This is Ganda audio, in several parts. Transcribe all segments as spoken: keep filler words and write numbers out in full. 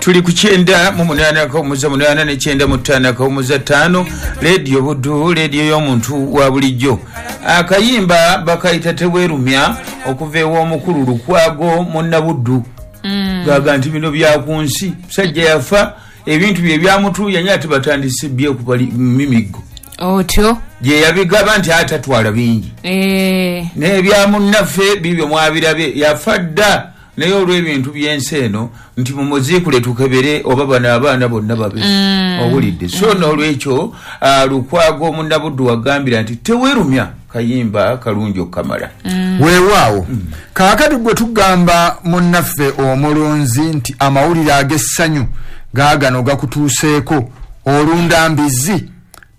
Tuli ku kyenda mu munaana akawumuza munaana ne kyenda mu ttaano akawumuza ttaano, Leediyo Buddu, leediyo y'omuntu wa bulijjo. Akayimba bakayita Teweerumya okuva ew'omukulu Lukwago Munnabuddu. Gaga nti bino bya ku nsi, musajja yafa ebintu bye byamutuuya ate batandise byekuba mimiggo. Otyo gye yabigaba nti atatwala bingi eh. N'ebyamunnaffe bibyo mwabirabye, yafa dda naye olw'ebintu by'ensi eno nti mumuziikule tukebere oba bano abaana bonna babe mm. Owulidde. So n'olwekyo Lukwago Munnabuddu wagambira nti teweerumya, kayimba kalungi okukamala. mm. Weewaawo. mm. Kaakati gwe tugamba munnaffe omulunzi nti amawulire ag'essanyu gaagano gakutuuseeko. Olunda mbizzi,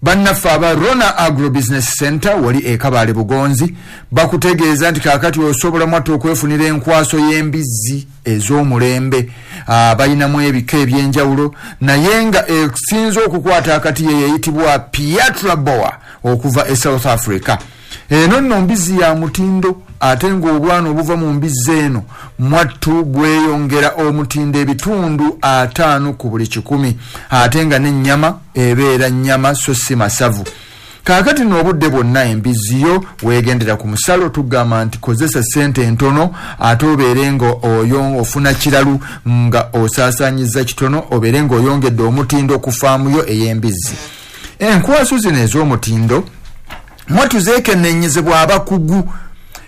bannaffe aba Rona Agro Business Center wali e Kabale Bugonzi bakutegeeza nti kaakati osobola mwattu okwefunira enkwaso y'embizzi ez'omulembe. Balinamu ebika ebyenjawulo, naye nga esinza okukwata akati ye yeyitibwa Piatra Boa okuva e South Africa. Eno nno mbizzi ya mutindo, ate ng'obwana obuva mu mbizzi eno mwattu bweyongera omutindo ebitundu ataano ku buli kikumi, ate nga n'ennyama ebeera nnyama so si masavu. Kaakati n'obudde bwonna embizzi yo weegendera ku musalo, tugamba nti kozesa ssente entono ate obeere nga oyo ofuna kiralu nga osaasaanyiza kitono, obeere ng'oyongedde omutindo ku faamu yo ey'embizzi. Enkwaso zino ez'omutindo mwattu zeekenneenyezebwa abakugu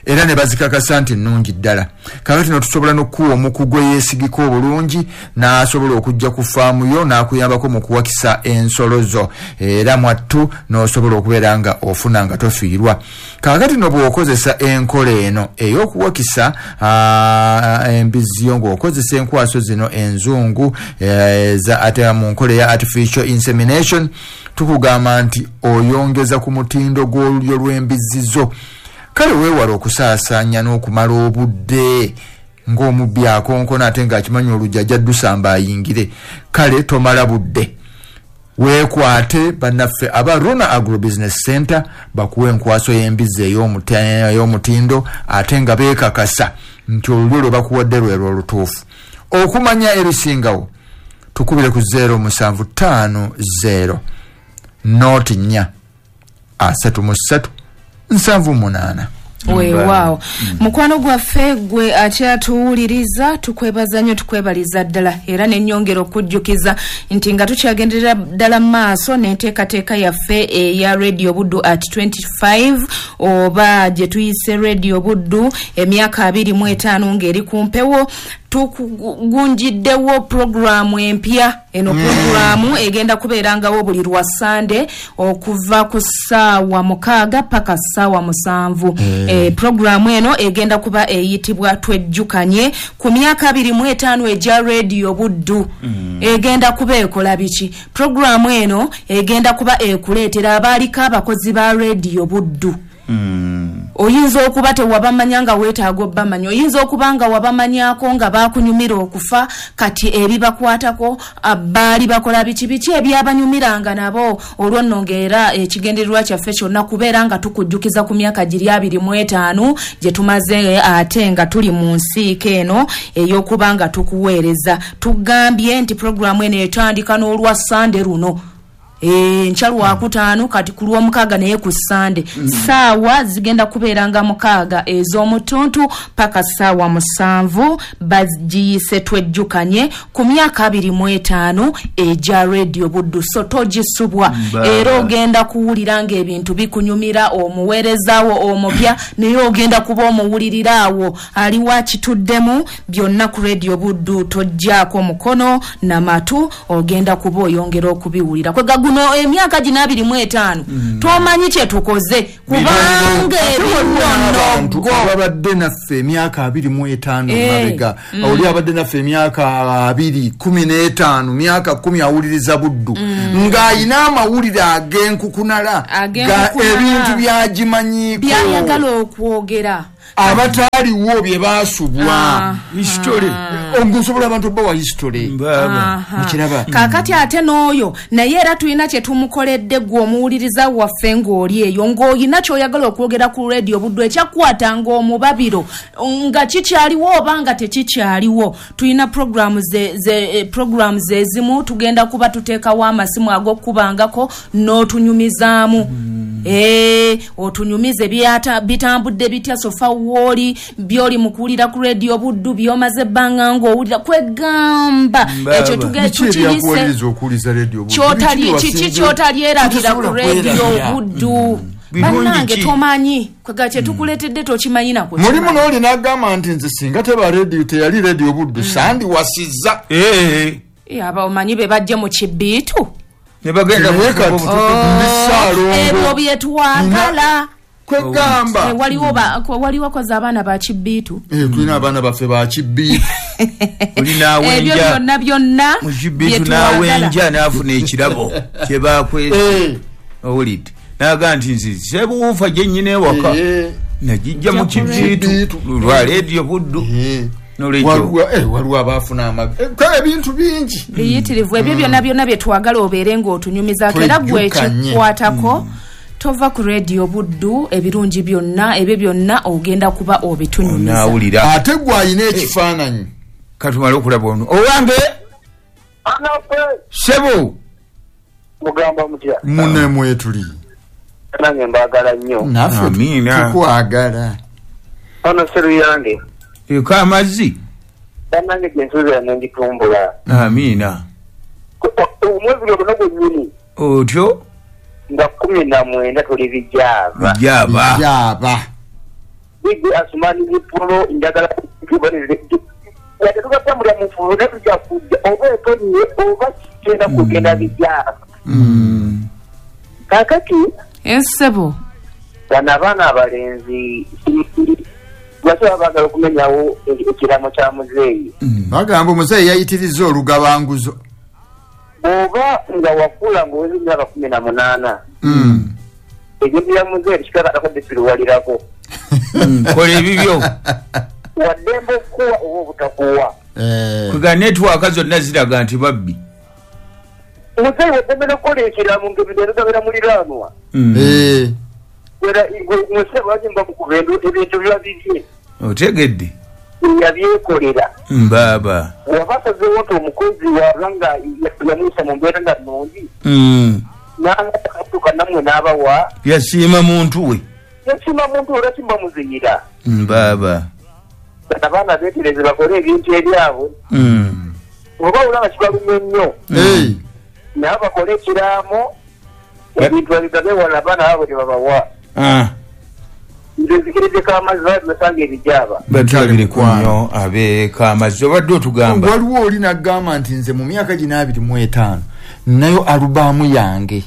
era ne bazikakasa nti nnungi ddala. Kaakati no tusobola n'okuwa omukugu eyeesigika obulungi n'asobola okujja ku faamu yo n'akuyambako mu kuwakisa ensolo zo, era mwattu n'osobola okubeera nga ofuna nga tofiirwa. Kaakati no bw'okozesa enkola eno ey'okuwakisa embizzi yo ng'okozesa enkwaso zino enzungu eza ate mu nkola eya artificial insemination, tukugamba nti oyongeza ku mutindo gw'olulyo lw'embizzi zo. Kale weewala okusaasaanya n'okumala obudde ng'omubbi akonkona ate ng'akimanyi olujja ajja ddusamba ayingire. Kale tomala budde, weekwate bannaffe aba Rona Agro Business Center bakuwa enkwaso y'embizzi ey'omutindo ate nga beekakasa nti olulyo lwe bakuwadde lwe lwo olutuufu. Okumanya ebisingawo tukubire ku zero musanvu ttaano zero noti nnya asatu mu ssatu nsanvu munaana. Weewaawo. Mukwano gwaffe gwe akyatuwuliriza, tukwebaza nnyo, tukwebaliza ddala, era nennyongera okujjukiza nti nga tukyagenderera ddala mu maaso n'enteekateeka yaffe eya Radio Buddu at twenty-five oba gye tuyise Radio Buddu emyaka abiri mu etaano ng'eri ku mpewo, tukugunjiddewo puroguramu empya. Eno puroguramu egenda kubeerangawo buli lwa Sande okuva ku ssaawa mukaaga paka ssaawa musanvu. mm. E, puroguramu eno egenda kuba eyitibwa Twejjukanye ku myaka abiri mu etaano egya Radio Buddu. mm. Egenda kuba ekola biki? Puroguramu eno egenda kuba ekuleetera abaaliko abakozi ba Radio Buddu. Mm. Oyinza okuba tewabamanya nga weetaaga obbamanya, oyinza okuba nga wabamanyako nga baakunyumira okufa, kati ebibakwatako baali bakola biki biki ebyabanyumiranga nabo. Olwo nno ng'era ekigendererwa kyaffe kyonna kubeera nga tukujjukiza ku myaka giri abiri mu etaano gye tumaze ate nga tuli mu nsiika eno ey'okuba nga tukuweereza. Tugambye nti puroguramu eno etandika n'olwa Sande luno enkya lwakutaano, kati ku lwomukaaga naye ku Sande. Ssaawa zigenda kubeeranga mukaaga ez'omutuntu paka ssaawa musanvu, bagiyise Twejjukanye ku myaka abiri mu etaano egya Radio Buddu. So togisubwa, era ogenda kuwulira ng'ebintu bikunyumira, omuweerezaawo omupya naye ogenda kuba omuwuliriraawo aliwo akituddemu byonna ku Radio Buddu. Tojjaako mukono namatu, ogenda kuba oyongera okubiwulira. Kwega guno emyaka gino abiri mu etaano mm. tomanyi kye tukoze, kubanga ebintu babadde naffe emyaka abiri mu etaano mabega, oli abadde naffe emyaka abiri kumi n'etaano, myaka kumi awuliriza Buddu ng'ayina amawulire ag'enkukunala, ebintu byagimanyiiko byayagala okwogera. Abataliwo bye basubwa. History. Ongusobola abantu bawa history. Mukiraba. Kakati ate n'oyo naye era tulina kye tumukoledde gwe omuwuliriza waffe ng'oli eyo ng'olina ky'oyagala okwogera ku Radio Buddu ekyakwatanga omubabiro nga kikyaliwo oba nga tekikyaliwo. Tulina programs ze, ze, programs ezimu tugenda kuba tuteekawo amasimu ag'okubangako n'otunyumizaamu. Mm. Eh, otunyumize byata bitambudde bitya sofa woli byoli mukuwulira ku Radio Buddu byomaze ebbanga ng'owulira kwegamba ekyo tugenda tukiyise kyotali kiki kyotalyerabira ku Radio Buddu. Bannange tomanyi kwega kye tukuleetedde tokimanyi nako. Mulimu n'oli n'agamba nti nze singa teba radio teyali Radio Buddu sandi wasizza. Eh eh aba omanyi be bajje mu kibiitu ne bagenda ebyo bye twagala kwegamba. Waliwo waliwo koza abaana ba kibiitu. Eh tulina abaana baffe ba kibiitu. Olina ebyo byonna byonna mu kibiitu n'awenja n'afuna ekirabo kye bakwese. Owulidde naga nti nze sebuufa gye nnyina ewaka nagijja mu kibiitu lwa Radio Buddu. Waliwo abaafuna amaga ebintu bingi biyitirivu ebyo byonna byonna bye twagala obeere ng'otunyumizaako era gwe ekikwatako tova ku Radio Buddu ebirungi byonna ebyo byonna ogenda kuba obitunyumiza. Ate gwe alina ekifaananyi katumale okulaba ono owange sebo mugamba mutya mune mwetuli nange mbaagala nnyo. Naffe tukwagala. Ono seru yange eka amazzi bannange gye nsuubira ne ngitumbula. Amiina. Omwezi guno gwennyini otyo nga kumi na mwenda tuli bijaaba. Bijaaba. Bijaaba. Bigi Asumani Zipulo njagala wadde tugatambulira mu nfuufu naye tujja kujja oba etonye oba kigenda kugenda bijaaba. Kaakati ensebo bano abaana abalenzi lwaki baba baagala okumenyawo ekiramo kya muzeeyi? Bagamba omuzeeyi yayitirizza olugabanguzo. Bw'oba nga wakula ng'oweza emyaka kumi na munaana ebintu bya muzeeyi kikakatako bisiruwalirako. Kola ebibyo. Waddembe okukuwa oba obutakuwa. Kwega netiwaaka zonna ziraga nti babbi. Muzeeyi waddembe n'okukola ekiramo ng'ebintu ebigabira muliraanwa. Era muzeeyi lwaki mukuba ebintu biba bibye. Otegedde. Yabyekolera. Mbaaba. Waba asazeewo nti omukozi waba nga yamuyisa mu mbeera nga nnungi. N'akatuuka nammwe n'abawa. Yasiima muntu we. Yasiima muntu we lwaki mubamuziyira. Mbaaba. Bano abaana beetereze bakole ebintu ebyabwe. Oba olaba kibalumye nnyo. Naye bakole ekiraamo ebintu babigabe wala abaana baabwe tebabawa. Nze nzikiriddeko amazzi basanga ebijaaba. Batulabireko nnyo abeeka amazzi obadde otugamba. Waliwo oli n'agamba nti nze mu myaka gino abiri mu etaano ninayo alubaamu yange.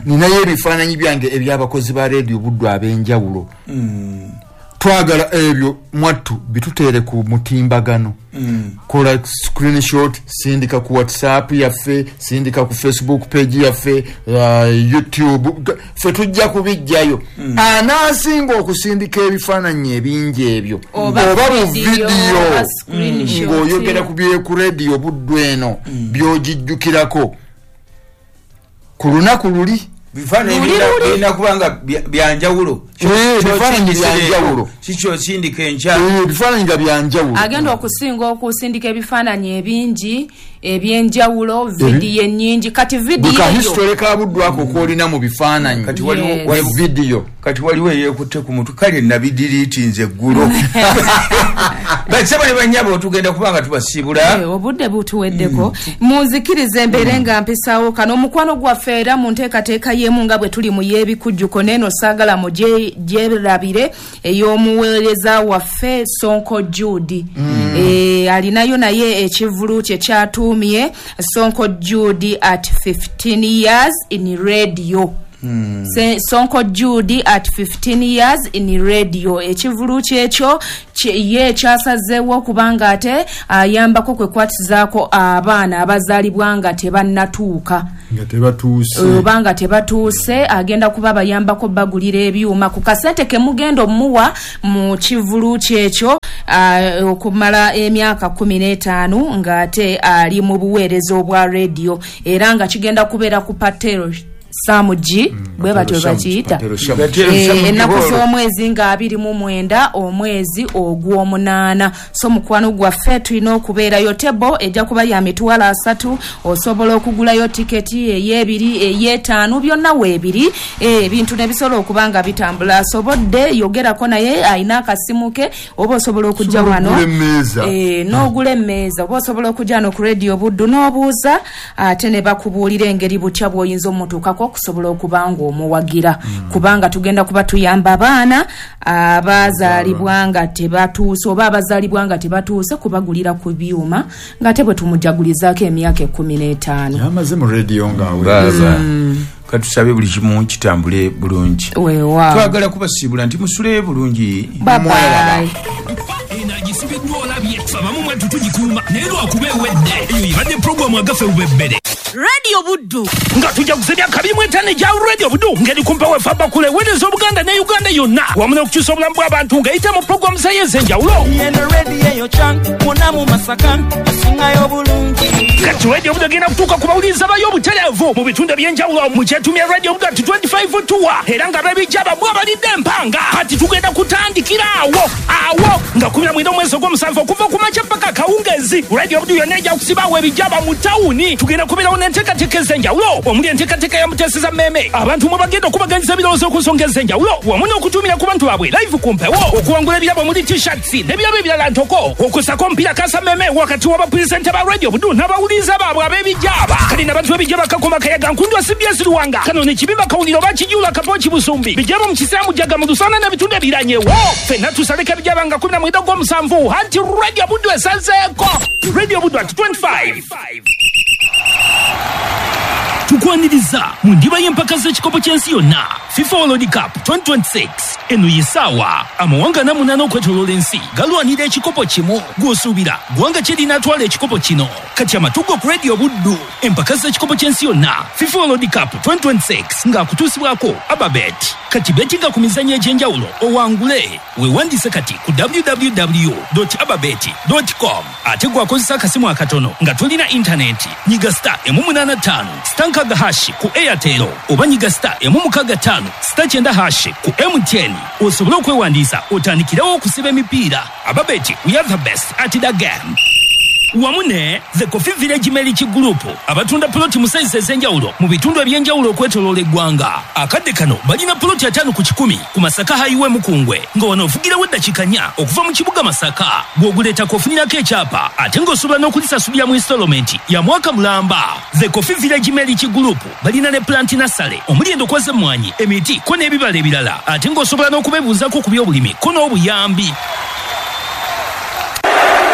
Ninayo ebifaananyi byange eby'abakozi ba Radio Buddu ab'enjawulo. Twagala ebyo mwattu bituteere ku mutimbagano. Kola screenshot, sindika ku WhatsApp yaffe, sindika ku Facebook page yaffe, uh, YouTube, ffe tujja kubijjayo. Anaasinga okusindika ebifaananyi ebingi ebyo oba mu vidiyo ng'oyogera ku bye ku Radio Buddu eno by'ogijjukirako ku lunaku luli. Bifaananyi birina kubanga byanjawulo. Bifaananyi byanjawulo. Kikyo osindika enkya. Bifaananyi nga byanjawulo. Agenda okusinga okusindika ebifaananyi ebingi ebyenjawulo, vidiyo ennyingi. Kati vidiyo eyo. History ka Buddu ako kw'olina mu bifaananyi. Kati waliwo vidiyo. Kati waliwo eyeekutte ku mutwe kale nabidiriiti nze eggulo. Bassebo ne bannyabo tugenda kubanga tubasiibula. Obudde butuweddeko. Munzikirize embeere nga mpisaawo kano omukwano gwaffe era mu nteekateeka y'emu nga bwe tuli mu y'ebikujjuko n'eno saagala mugyerabire ey'omuweereza waffe Sonko Jude. Eh, alinayo naye ekivvulu kye kyatuumye Sonko Jude at fifteen years in radio. Hmm. Sonko Judy at fifteen years in radio ekivulu kyekyo ye kyasazeewo kubanga ate ayambako kwe kwatizaako abaana abazaalibwa nga tebannatuuka nga tebatuuse oba nga tebatuuse agenda kuba bayambako bagulira ebyuma ku kasente ke mugenda omuwa mu kivulu kyekyo okumala emyaka kumi n'etaano ng'ate ali mu buweereza obwa radio era nga kigenda kubeera ku Patero Samuji bwe batyo bakiyita ennaku z'omwezi nga abiri mu mwenda omwezi ogw'omunaana. So mukwano gwaffe tulina okubeerayo tebo ejja kuba ya mitwalo asatu osobola okugulayo tiketi ey'ebiri ey'etaano byonna weebiri ebintu ne bisobola okuba nga bitambula. Asobodde yogerako naye alina akasimu ke oba osobola okujja wano n'ogula emmeeza oba osobola okujja no ku Radio Buddu n'obuuza ate ne bakubuulira engeri butya bw'oyinza omutuukako okusobola okubanga omuwagira mm. kubanga tugenda kuba tuyamba abaana abazaalibwa nga tebatuuse oba abazaalibwa nga tebatuuse kubagulira ku byuma nga te bwe tumujagulizaako emyaka ekkumi n'etaano. Yamaze mu radio nga aweereza. Mm. Katusabe buli kimu kitambule bulungi. Weewaawo. Twagala kubasiibula nti musule bulungi. Bye bye. Radio Buddu nga tujja kusebya kabiri mu etaano egya Radio Buddu ngeri kumpa wefa bakule weereza Obuganda ne Uganda yonna wamu n'okukyusa obulamu bw'abantu ng'eyita mu pulogulaamu zayo ez'enjawulo. Kati Radio Buddu egenda kutuuka ku bawuliriza bayo obutereevu mu bitundu eby'enjawulo mu kyetumya Radio Buddu ati twenty-five tour era nga b'ebijja bamwe abalidde empanga. Kati tugenda kutandikira awo awo nga kumi na mwenda omwezi ogw'omusanvu okuva ku makya paka akawungeezi. Radio Buddu yonna ejja kusibaawo ebijjaba mu tawuni. Tugenda kubeerawo n'enteekateeka ez'enjawulo omuli enteekateeka ya Muteeseza Mmeeme abantu mwe bagenda okubaganyiza ebirowoozo ku nsonga ez'enjawulo wamu n'okutumira ku bantu baabwe live ku mpewo okuwangula ebirabo omuli t-shirts n'ebirabo ebirala ntoko okusako omupiira kasa mmeeme wakati w'abapulisente ba Radio Buddu n'abawuliriza baabwe ab'ebijjaba. Kale n'abantu b'ebijja bakakoma kayaga Nkundwa C B S Luwanga kano ne Kibimba Kawuliro oba Kijuula Kapoki Busumbi bijjaba mu Kisiramu Jjaga mu Lusana n'ebitundu ebiranyewo ffenna tusaleko ebijjaba nga kumi na mwenda ogw'omusanvu anti Radio Buddu esazeeko. Radio Buddu at twenty-five. Tukwaniriza mu ndiba y'empaka z'ekikopo ky'ensi yonna FIFA World Cup twenty twenty-six. Eno ye ssaawa amawanga ana munaana okwetooloola ensi galwanira ekikopo kimu gw'osuubira ggwanga ki erinaatwala ekikopo kino. Kati amatugo ku Radio Buddu empaka z'ekikopo ky'ensi yonna FIFA World Cup twenty twenty-six ng'akutuusibwako Ababet. Kati betinga ku mizannyo egy'enjawulo owangule. Weewandiise kati ku w w w dot ababet dot com ate gwakozesa akasimu akatono nga tolina intaneti nyiga star emu munaana ttaano star nkaaga hashi ku Airtel oba nyiga star emu mukaaga ttaano star kyenda hashi ku M T N osobole okwewandiisa otandikirewo okusiba emipiira. Ababet, we are the best at the game. Wamu ne The Coffee Village Milk Group abatunda ploti mu sayizi ez'enjawulo mu bitundu eby'enjawulo okwetooloola eggwanga. Akadde kano balina ploti ataano ku kikumi ku Masaka Highway Mukungwe nga wano ovugirawo eddakiika nnya okuva mu kibuga Masaka. Bw'oguleetako ofunirako ekyapa ate ng'osobola n'okulisasulira mu installment ya mwaka mulamba. The Coffee Village Milk Group balina ne plant nursery omuli endokwa z'emmwanyi, emiti ko n'ebibala ebirala ate ng'osobola n'okubeebuuzaako ku by'obulimi ko n'obuyambi.